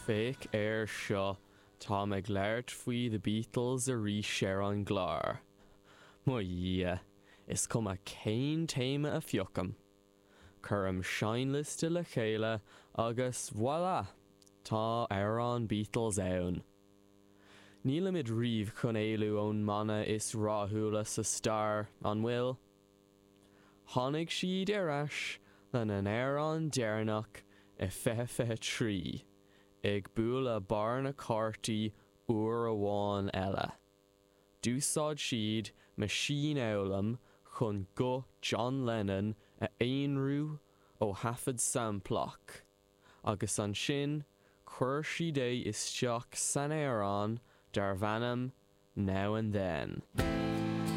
Féach air seo, táim ag labhairt faoi The Beatles arís ar an gclár. Mo Dhia, is cuma cén téama a phiocaim. Cuirim seinnliosta le chéile agus voilà! Tá amhrán Beatles ann. Nílimid riamh chun éalú ón mbanna is rathúla sa stair, an bhfuil? Tháinig siad ar ais lena n-amhrán deireanach i 2023, ag bualadh barr na cártaí uair amháin eile. D'úsáid siad meaisínfhoghlaim chun guth John Lennon a aonrú ó thaifead samplach, agus ansin chuir siad é isteach san amhrán darbh ainm Now and Then.